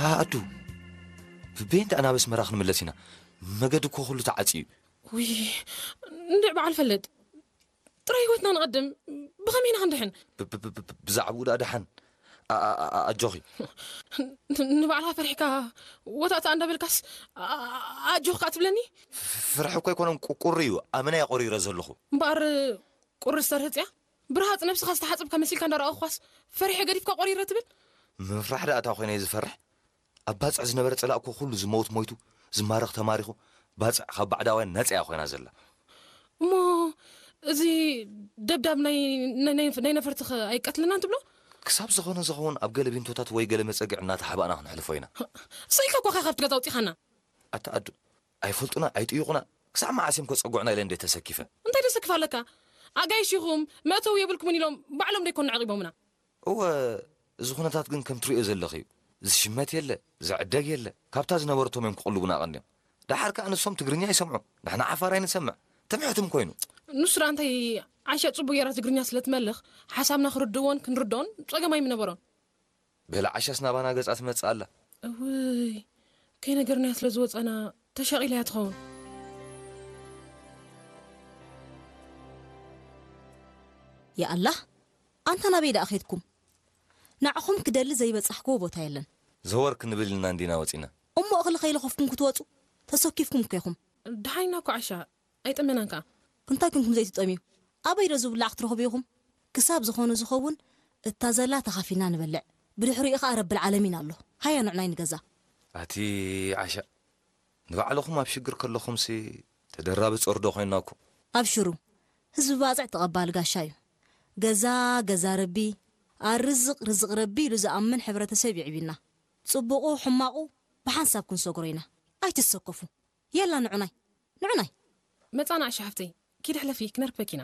ኣዱ፣ ብቤንት ኣናበስ መራ ክንምለስ ኢና። መገዲ እኮ ኩሉ ተዓጽዩ እዩ። ውይ፣ እንድዕ በዓል ፈለጥ፣ ጥራይ ህይወትና ንቐድም። ብኸመይ ኢና ክንድሕን? ብዛዕባኡ ደኣ ደሓን። ኣጆኺ። ንባዕልኻ ፈሪሕካ ወታእታ እንዳበልካስ ኣጆኽካ ትብለኒ? ፍርሒ እኮ ኣይኮነን፣ ቁሪ እዩ። ኣመና እየ ቆሪረ ዘለኹ። እምበኣር ቁሪ ዝተርህጽ እያ? ብርሃጽ ነብስኻ ዝተሓጽብካ መሲልካ እንዳረኣኹኳስ ፈሪሐ ገዲፍካ ቆሪረ ትብል? ምፍራሕ ደኣ እታ ኮይነ እየ ዝፈርሕ። ኣብ ባጽዕ ዝነበረ ጸላእ እኮ ኩሉ ዝመውት ሞይቱ፣ ዝማረኽ ተማሪኹ፣ ባጽዕ ካብ ባዕዳውያን ነጻ እያ ኮይና ዘላ። እሞ እዚ ደብዳብ ናይ ናይ- ናይ- ናይ ነፈርትኸ ኣይቀትልናን ትብሎ? ክሳብ ዝኾነ ዝኸውን ኣብ ገለ ቢንቶታት ወይ ገለ መጸግዕ እናተሓባእና ክንሕልፎ ኢና። ስኢልካ እኮ ኢኻ ካብቲ ገዛ ኣውጺኻና። ኣታ ኣዱ፣ ኣይፈልጡና፣ ኣይጥይቑና። ክሳብ መዓስ እዮም ከጸግዑና ኢለ እንደ ተሰኪፈ። እንታይ ተሰክፍ ኣለካ? ኣጋይሽ ኢኹም፣ መእተዊ የብልኩምን ኢሎም ባዕሎም ደይኮኑ ኣዕቂቦምና። እወ፣ እዚ ኩነታት ግን ከም ትሪኦ ዘለኺ እዩ። ዝሽመት የለ፣ ዝዕደግ የለ። ካብታ ዝነበረቶም እዮም ክቕልቡና ቀንዮም። ደሓር ከኣ ንሶም ትግርኛ ይሰምዑ፣ ንሕና ዓፋር ኣይንሰምዕ። ትምሕትም ኮይኑ። ንሱ ደኣ እንታይ፣ ዓሻ ጽቡቅ ጌራ ትግርኛ ስለ ትመልኽ፣ ሓሳብና ክርድእዎን ክንርድኦን ጸገም ኣይምነበሮን። በላ ዓሻስ ናባና ገጻ ትመጽእ ኣላ። እውይ፣ ከይነገርናያ ስለ ዝወጻና ተሻቒላ እያ ትኸውን። ያኣላህ፣ ኣንታ ናበይ ደኣ ኸድኩም? ንዓኹም ክደሊ ዘይበጻሕክዎ ቦታ የለን። ዘወር ክንብል ኢልና እንዲና ወጺና። እሞ እኽሊ ከይለኸፍኩም ክትወጹ? ተሰኪፍኩም እኮ ኢኹም። ደሓን ኢና እኮ ዓሻ፣ ኣይጠመናን ከኣ። እንታይ ኩንኩም ዘይትጠምዩ? ኣበይ ዶ ዝብላዕ ክትረኽቡ ኢኹም? ክሳብ ዝኾነ ዝኸውን እታ ዘላ ተኻፊልና ንበልዕ። ብድሕሪኡ ኸኣ ረብል ዓለሚን ኣሎ። ሃያ ንዕናይ ንገዛ። ኣቲ ዓሻ፣ ንባዕልኹም ኣብ ሽግር ከለኹምሲ ተደራቢ ጾር ዶ ኮይንና እኮ። ኣብሽሩ፣ ህዝቢ ባጽዕ ተቐባሊ ጋሻ እዩ። ገዛ፣ ገዛ ረቢ፣ ኣርዝቕ፣ ርዝቕ ረቢ ኢሉ ዝኣምን ሕብረተሰብ የዕቢና። ጽቡቑ፣ ሕማቑ ብሓንሳብ ክንሰግሮ ኢና። ኣይትሰከፉ። የላ ንዑናይ፣ ንዑናይ። መጻና ዓሻ ሓፍተይ፣ ኪድ ሕለፊ፣ ክነርክበኪ ኢና።